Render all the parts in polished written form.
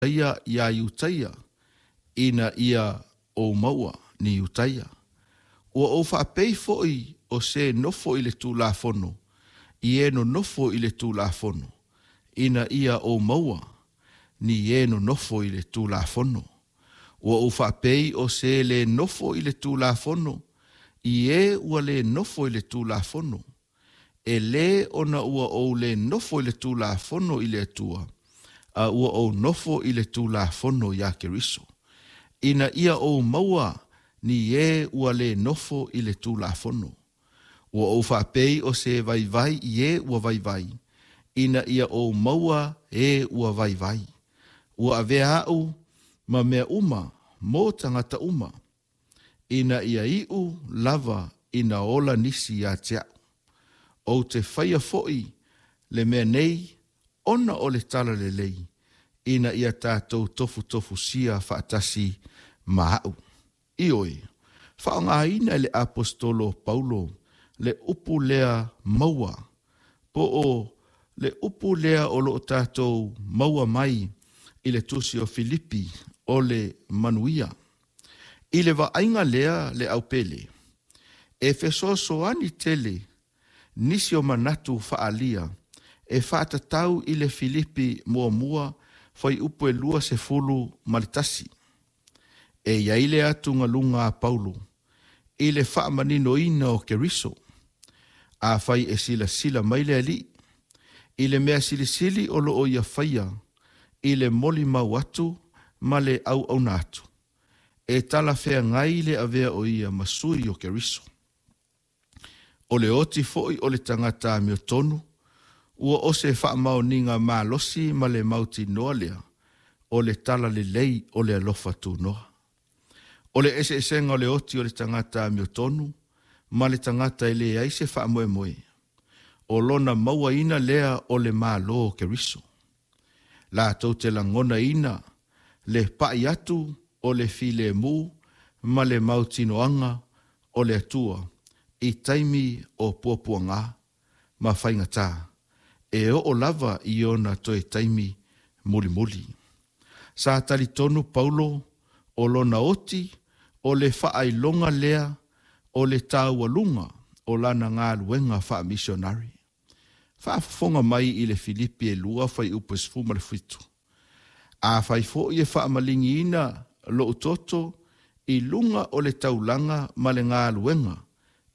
Ia iā Iutaia, ina ia ou maua ni Iutaia. Ua ou faapei foi o se nofo i le Tulafono i e nonofo i le Tulafono, ina ia ou maua ni e nonofo i le Tulafono. Ua ou faapei o se lē nofo i le Tulafono i e ua lē nofo i le Tulafono, e lē ona ua ou lē nofo i le Tulafono i le Atua, a ua ou nofo i le Tulafono iā Keriso, ina ia ou maua ni e ua lē nofo i le Tulafono. Ua ou faapei o se vaivai i e ua vaivai, ina ia ou maua e ua vaivai. Ua avea a'u ma mea uma mo tagata uma, ina ia iu lava ina ola nisi ia te a'u. Ou te faia foi le mea nei ona o le talalelei, ina ia tatou tofutofusia faatasi ma a'u. Ioe, faaaogaina e le Aposetolo o Paulo le upu lea maua, po o le upu lea o lo o tatou maua mai i le tusi o Filipi o le manuia. I le vaaiga lea le aupele, e fesoasoani tele nisi o manatu faaalia e faatatau i le Filipi muamua fuaiupu e 21. E i ai le atugaluga a Paulo i le faamaninoina o Keriso. Afai e silasila mai le Alii i le mea silisili o lo o ia faia i le molimau atu ma le auauna atu, e talafeagai le avea o ia ma sui o Keriso. O le oti foi o le tagata amiotonu, ua o se faamaoniga malosi ma le mautinoa lea o le talalelei o le alofa tunoa. O le eseesega o le oti o le tagata amiotonu ma le tagata e leai se faamoemoe, o lona mauaina lea o le Malo o Keriso. Latou te lagonaina le pa'i atu o le filemu ma le mautinoaga o le Atua i taimi o puapuagā ma faigatā, e oo lava i ona toe taimi mulimuli. Sa talitonu Paulo o lona oti o le faailoga lea o le taualuga o lana galuega faamisionare. Faafofoga mai i le Filipi e 2 fuaiupu e 17. Afai foi e faamaligiina lou toto i luga o le taulaga ma le galuega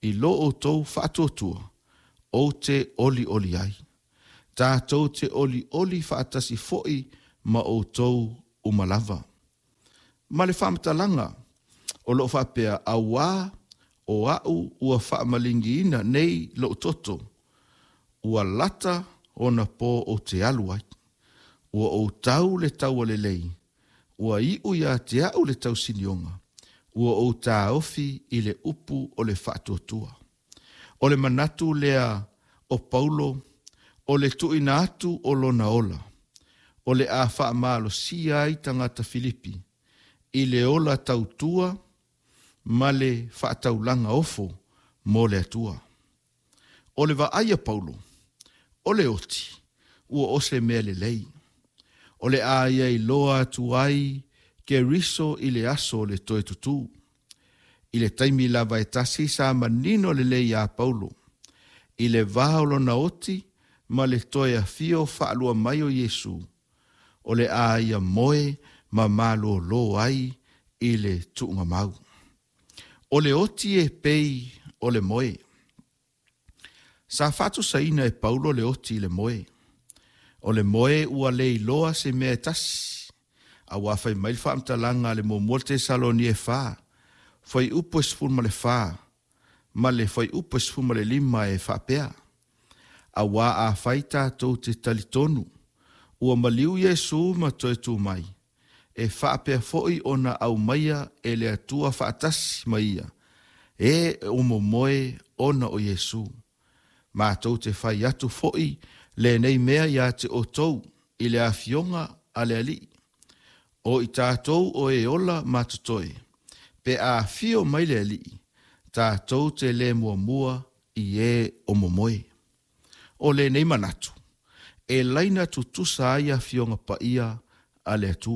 i lo outou faatuatua, ou te olioli ai. Tatou te olioli faatasi foi ma outou uma lava. Ma le faamatalaga o lo o faapea, Auā o a'u ua faamaligiina nei lou toto, ua lata ona po ou te alu ai. Ua ou tau le taua lelei, ua iu ia te a'u le tausinioga, ua ou taofi i le upu o le faatuatua. O le manatu lea o Paulo o le tuuina atu o lona ola, o le a faamalosia ai tagata Filipi i le ola tautua ma le faataulaga ofo mo le Atua. O le vaai a Paulo, o le oti, ua o se mea lelei. O le a ia iloa atu ai Keriso i le aso o le toe tutū. I le taimi lava e tasi sa manino lelei iā Paulo i le va o lona oti ma le toe afio faalua mai o Iesu, o le a ia moe ma malōlō ai i le tuugamau. O le oti e pei o le moe. Sa faatusaina e Paulo le oti i le moe. O le moe ua le iloa se mea e tasi, auā fai mai le faamatalaga a le muamua Tesalonia e 4, fuaiupu e 14 ma le fuaiupu e 15 e faapea, Auā afai tatou te talitonu ua maliu Iesu ma toe tu mai, e faapea foi ona aumaia e le Atua faatasi ma ia, e o momoe ona o Iesu. Matou te fai atu foi lenei mea ia te outou i le Afioga a le Alii, o i tatou o e ola ma totoe, pe a afio mai le Alii, tatou te le muamua i e o momoe. O lenei manatu, e laina tutusa ai Afioga Paia a le Atua.